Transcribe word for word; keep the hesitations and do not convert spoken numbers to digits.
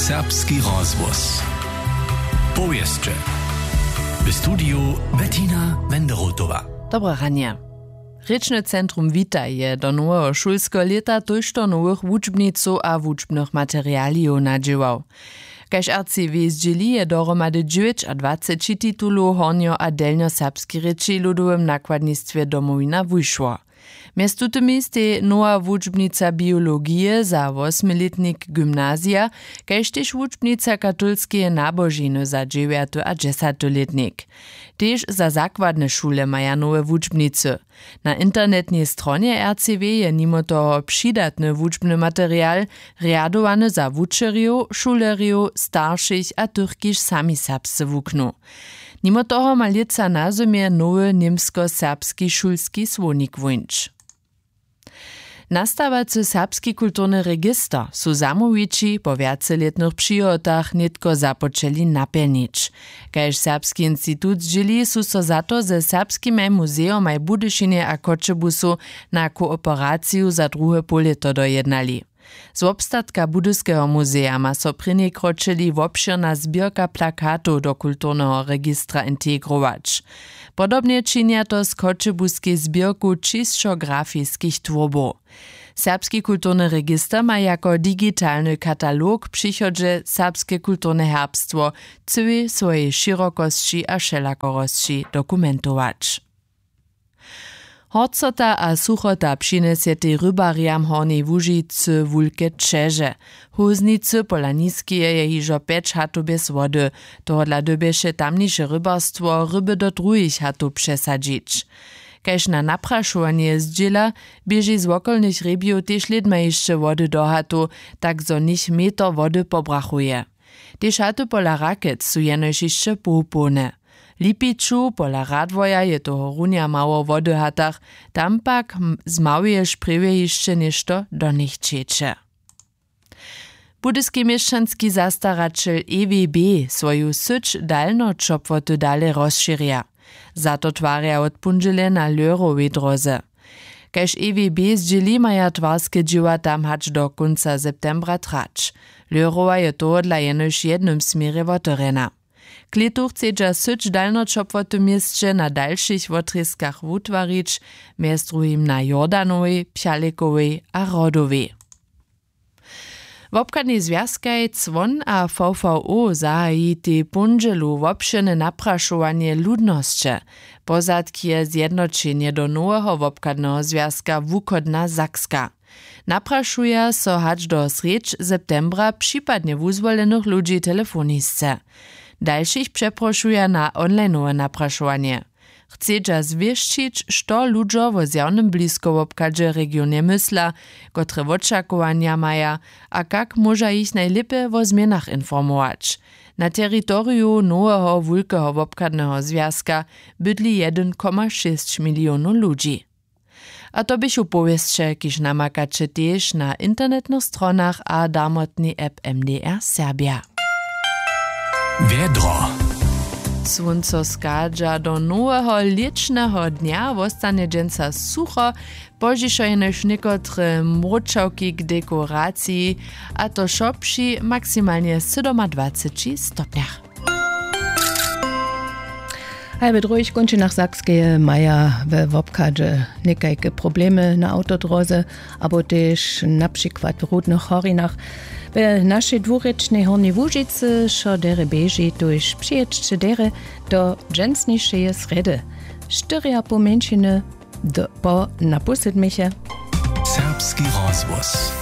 Serbski rozhłos. Powěsće. W studiju Bettina Wenderotowa. Dobre ranje. Rěčne centrum Wita je do noweho šulskeho lěta tójšto nowych wučbnicow a wučbnych materialijow nadźěłał. Kaž R C W zdźěli, je dohromady dźewjećadwaceći titulow hornjo- a delnjoserbskej rěči w ludowym nakładnistwje Domowina wušło. Mjez tutymi stej nowa wučbnica biologije za wosmilětnik gymnazija, kaž tež wučbnica katolskeje nabožiny za dźewjaty a dźesaty lětnik. Tež za zakładne šule maja nowe wučbnicy. Na internetnej stronje R C W je nimo toho přidatny wučbny material, rjadowany za wučerjow, šulerjow, staršich a tych, kiž sami serbsce wuknu. Nimo toho ma lětsa na zymje nowy němskoserbski šulski słownik wóńć. Nastawacy serbski kulturny register su zamołwići po wjacelětnych přihotach nětko započeli napjelnić. Kaž Serbski institut zdźěli, su so za to ze serbskimaj muzejomaj w Budyšinje a Choćebuzu na kooperaciju za druhe połlěto dojednali. Z wobstatka Budyskeho muzeja ma so prěni kročili wobšěrna zběrka plakatow do kulturneho registra integrować. Podobnje činja to z choćebuskej zběrku čisćografiskich twórbow. Serbski kulturny register ma jako digitalny katalog w přichodźe serbske kulturne herbstwo w cyłej swojej šěrokosći a wšelakorosći dokumentować. Horcota a suchota přinjesetej rybarjam Hornjej Łužicy wulke ćeže. W Hóznicy pola Niskeje je hižo pjeć hatow bjez wody. Tohodla dyrbješe tamniše rybarstwo ryby do druhich hatow přesadźić. Kaž na naprašowanje zdźěla, běži z wokolnych hrjebjow tež lědma hišće wody do hatow, tak zo něch meter wody pobrachuje. Tež haty pola Rakec su jenož hišće połpołne. W Lipiću pola Radworja je tohorunja mało wody w hatach, tam pak z małyje šprjewje hišće něšto do nich ćeče. Budyski měšćanski zastaraćel E W B swoju syć dalnoćopłoty dale rozšěrja. Za to twarja wot póndźele na Lehrowej dróze. Kaž E W B zdźěli, maja twarske dźěła tam hač do kónca septembra trać. Lehrowa je tohodla jenož w jednym směrje wotewrjena. K lětu chcedźa syć dalnoćopłoty w měsće na dalšich wotrězkach wutwarić, mjez druhim na Jordanowej, Pjalikowej a Hrodowej. Wobchadnej zwjazkaj Cwon a V V O zahajitej póndźelu wobšěrne naprašowanje ludnosće. Pozadk je zjednoćenje do noweho wobchadneho zwjazka Wuchodna Sakska. Naprašuja so hač do srjedź septembra připadnje wuzwolenych ludźi telefonisce. Dalšich přeprošuja na onlineowe naprašowanje. Chcedźa zwěsćić, što ludźo wo zjawnym bliskowobchadźe w regionje mysla, kotre wočakowanja maja a kak móža jich najlěpje wo změnach informować. Na teritoriju noweho wulkeho wobchadneho zwjazka bydli jedyn koma šěsć milionow ludźi. A to běchu powěsće, kiž namakaće tež na internetnych stronach a darmotnej app M D R Serbja. Wjedro. Słónco schadźa do noweho lěćneho dnja, wostanje dźensa sucho, pozdźišo jenož někotre mróčawki k dekoraciji, a to wšo při maksimalnje sydomadwaceći stopnjach. Haj, w druhich kónčinach Sakskeje maja we wobchadźe někajke problemy na awtodróze abo tež na přikład w Rudnych Horinach. We našej dwurěčnej Hornjej Łužicy wšo derje běži, tuž přijědźće derje do dźensnišeje srjedy. Štyrjapoł mjeńšiny do, po na pół sydmiche. Serbski rozhłos.